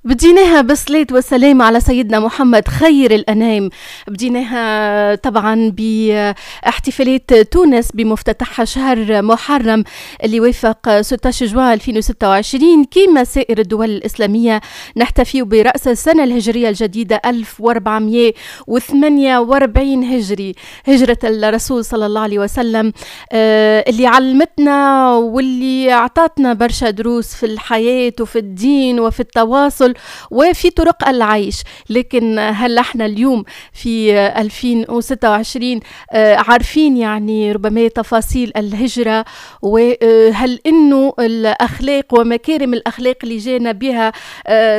بديناها بالصلاة والسلام على سيدنا محمد خير الأنام. بديناها طبعا باحتفالات تونس بمفتتحها شهر محرم اللي وافق 16 جوان 2026. كما سائر الدول الإسلامية نحتفي برأس السنة الهجرية الجديدة 1448 هجري، هجرة الرسول صلى الله عليه وسلم اللي علمتنا واللي أعطتنا برشا دروس في الحياة وفي الدين وفي التواصل وفي طرق العيش. لكن هل احنا اليوم في 2026 عارفين يعني ربما تفاصيل الهجرة؟ وهل انه الاخلاق ومكارم الاخلاق اللي جانا بها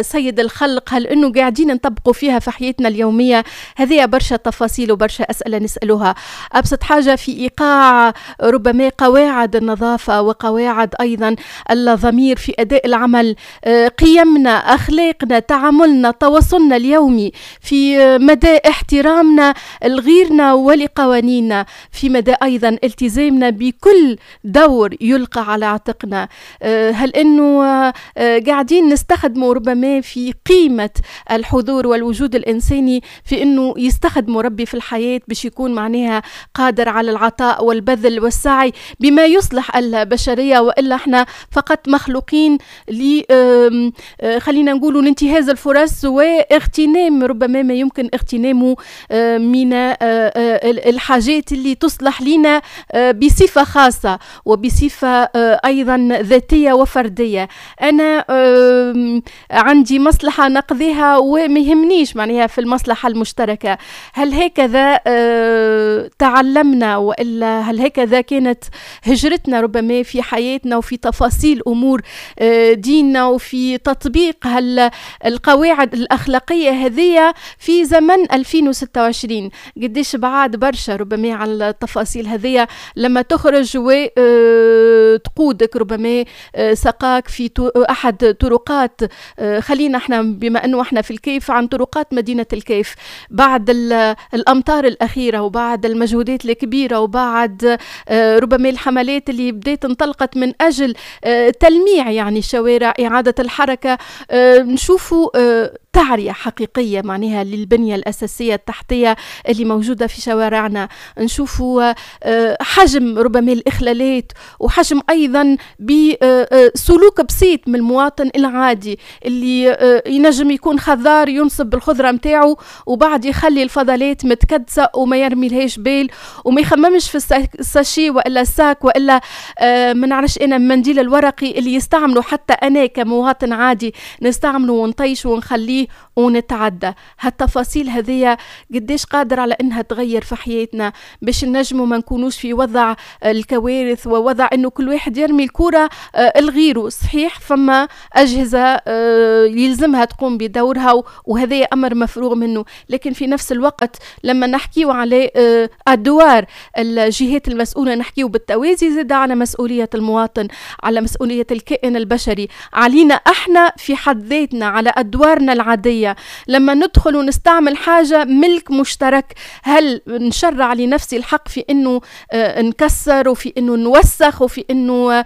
سيد الخلق هل انه قاعدين نطبقوا فيها في حياتنا اليومية؟ هذه برشا تفاصيل وبرشا اسئلة نسألوها. ابسط حاجة في ايقاع ربما قواعد النظافة وقواعد ايضا الضمير في اداء العمل، قيمنا، اخلاقنا، تعاملنا، تواصلنا اليومي، في مدى احترامنا لغيرنا ولقوانيننا، في مدى ايضا التزامنا بكل دور يلقى على عاتقنا. هل انه قاعدين نستخدموا ربما في قيمة الحضور والوجود الانساني في انه يستخدموا ربي في الحياة باش يكون معناها قادر على العطاء والبذل والسعي بما يصلح البشرية، والا احنا فقط مخلوقين ل خلينا نقولوا لانتهاز الفرص واغتنام ربما ما يمكن اغتنامه من الحاجات اللي تصلح لنا بصفة خاصة وبصفة أيضا ذاتية وفردية. أنا عندي مصلحة نقضيها وما يهمنيش معناها في المصلحة المشتركة. هل هكذا تعلمنا، وإلا هل هكذا كانت هجرتنا ربما في حياتنا وفي تفاصيل أمور ديننا وفي تطبيق القواعد الأخلاقية هذه في زمن 2026؟ قديش بعاد برشا ربما على التفاصيل هذه لما تخرج وتقودك ربما سقاك في أحد طرقات، خلينا احنا بما أنه احنا في الكيف، عن طرقات مدينة الكيف بعد الأمطار الأخيرة وبعد المجهودات الكبيرة وبعد ربما الحملات اللي بدأت انطلقت من أجل تلميع يعني الشوارع، إعادة الحركة، نشوفوا تعرية حقيقية معناها للبنية الأساسية التحتية اللي موجودة في شوارعنا. نشوفوا حجم ربما الإخلالات وحجم أيضا بسلوك بسيط من المواطن العادي اللي ينجم يكون خضار ينصب بالخضرة متاعه وبعد يخلي الفضلات متكدسة وما يرمي لهاش بال وما يخممش في ال sachet وإلا ال sac وإلا ما نعرفش أنا المنديل الورقي اللي يستعمله حتى أنا كمواطن عادي نستعمله ونطيشه ونخليه ونتعدى. هالتفاصيل هذه قديش قادر على انها تغير في حياتنا باش نجموا ما نكونوش في وضع الكوارث ووضع انه كل واحد يرمي الكرة لغيره. صحيح فما اجهزة يلزمها تقوم بدورها وهذا امر مفروغ منه، لكن في نفس الوقت لما نحكيو على ادوار الجهات المسؤولة نحكيو بالتوازي زاد على مسؤولية المواطن، على مسؤولية الكائن البشري، علينا احنا في حد ذاتنا، على ادوارنا العادية. لما ندخل ونستعمل حاجة ملك مشترك، هل نشرع لنفسي الحق في انه نكسر وفي انه نوسخ وفي انه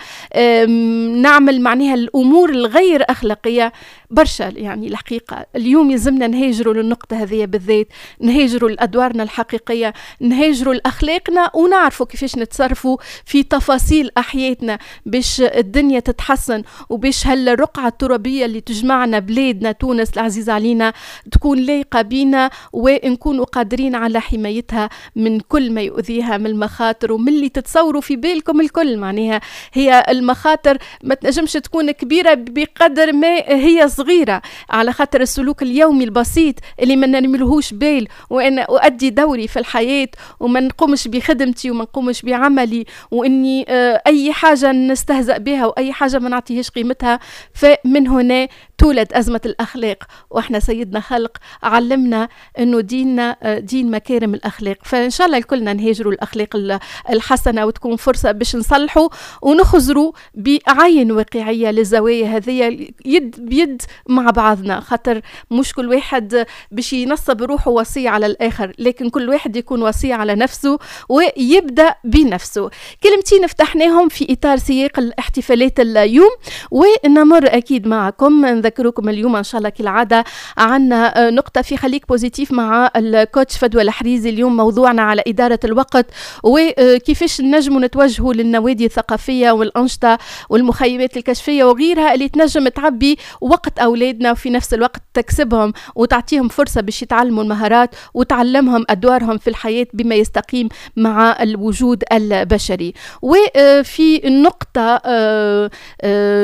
نعمل معناها الامور الغير اخلاقية؟ برشا يعني الحقيقة اليوم يلزمنا نهاجروا للنقطة هذه بالذات، نهاجروا لأدوارنا الحقيقية، نهاجروا لأخلاقنا ونعرفوا كيفاش نتصرفوا في تفاصيل أحياتنا باش الدنيا تتحسن وباش هالرقعة الترابية اللي تجمعنا بلادنا تونس العزيزة علينا تكون لايقة بينا ونكونوا قادرين على حمايتها من كل ما يؤذيها من المخاطر ومن اللي تتصوروا في بالكم الكل. معناها هي المخاطر ما تنجمش تكون كبيرة بقدر ما هي صغيرة، على خاطر السلوك اليومي البسيط اللي ما نرميلهوش بال وأنا أؤدي دوري في الحياة وما نقومش بخدمتي وما نقومش بعملي وإني أي حاجة نستهزأ بها وأي حاجة ما نعطيهاش قيمتها، فمن هنا تولد أزمة الأخلاق. وإحنا سيدنا خلق علمنا أنه ديننا دين مكارم الأخلاق، فإن شاء الله الكلنا نهاجروا الأخلاق الحسنة وتكون فرصة باش نصلحوا ونخزروا بعين واقعية للزوايا هذه يد بيد مع بعضنا، خاطر مش كل واحد باش ينصب روحه وصية على الآخر، لكن كل واحد يكون وصية على نفسه ويبدأ بنفسه. كلمتين فتحناهم في إطار سياق الاحتفالات اليوم، ونمر أكيد معكم نذكر نذكركم اليوم ان شاء الله كالعادة عندنا نقطة في خليك positif مع ال coach فدوى الحريزي. اليوم موضوعنا على ادارة الوقت وكيفاش نجموا نتوجهوا للنوادي الثقافية والانشطه والمخيمات الكشفيه وغيرها اللي تنجم تعبي وقت اولادنا، وفي نفس الوقت تكسبهم وتعطيهم فرصة باش يتعلموا المهارات وتعلمهم ادوارهم في الحياة بما يستقيم مع الوجود البشري. وفي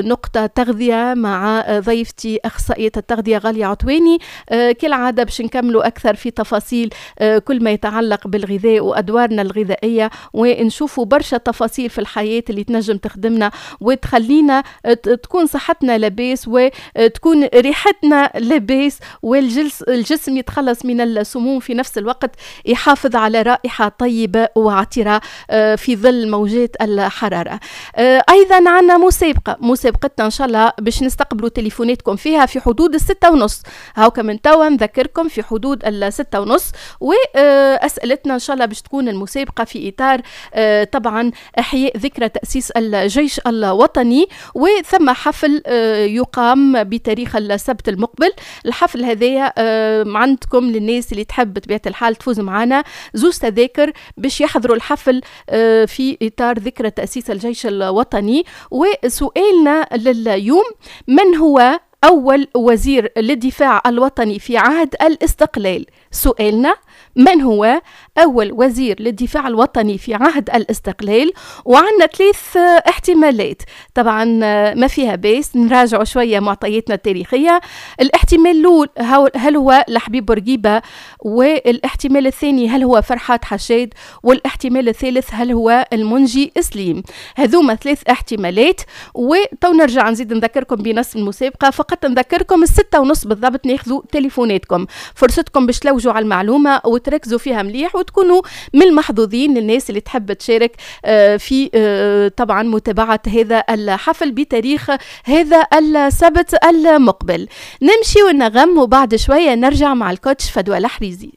نقطة تغذية مع ضيفتي اخصائية التغذية غالية عطواني، كالعادة باش نكملوا اكثر في تفاصيل كل ما يتعلق بالغذاء وادوارنا الغذائيه، ونشوفوا برشا تفاصيل في الحياة اللي تنجم تخدمنا وتخلينا تكون صحتنا لاباس وتكون ريحتنا لاباس، والجسم يتخلص من السموم، في نفس الوقت يحافظ على رائحة طيبة وعطرة في ظل موجات الحرارة. أيضا عندنا مسابقة، مسابقتنا إن شاء الله باش نستقبلوا تليفوناتكم فيها في حدود 6:30، هاوكا من توا نذكركم في حدود 6:30، وأسئلتنا إن شاء الله باش تكون المسابقة في إطار طبعا إحياء ذكرى تأسيس الجيش الوطني، وثم حفل يقام بتاريخ السبت المقبل. الحفل هذايا عندكم للناس اللي تحب بطبيعة الحال تفوز معنا زوز تذاكر باش يحضروا الحفل في إطار ذكرى تأسيس الجيش الوطني. وسؤالنا لليوم: من هو أول وزير للدفاع الوطني في عهد الاستقلال؟ سؤالنا: من هو أول وزير للدفاع الوطني في عهد الاستقلال؟ وعندنا ثلاث احتمالات، طبعا ما فيها باس نراجعوا شوية معطياتنا التاريخية. الاحتمال الأول هل هو لحبيب بورقيبة، والاحتمال الثاني هل هو فرحات حشاد، والاحتمال الثالث هل هو المنجي سليم. هذوما ثلاث احتمالات، وتو نرجع نزيد نذكركم بنص المسابقة. فقط نذكركم 6:30 بالضبط ناخذوا تليفوناتكم، فرصتكم باش تلوجوا على المعلومة وتركزوا فيها مليح وتكونوا من المحظوظين للناس اللي تحب تشارك في طبعا متابعة هذا الحفل بتاريخ هذا السبت المقبل. نمشي ونغم وبعد شوية نرجع مع ال coach فدوى الحريزي.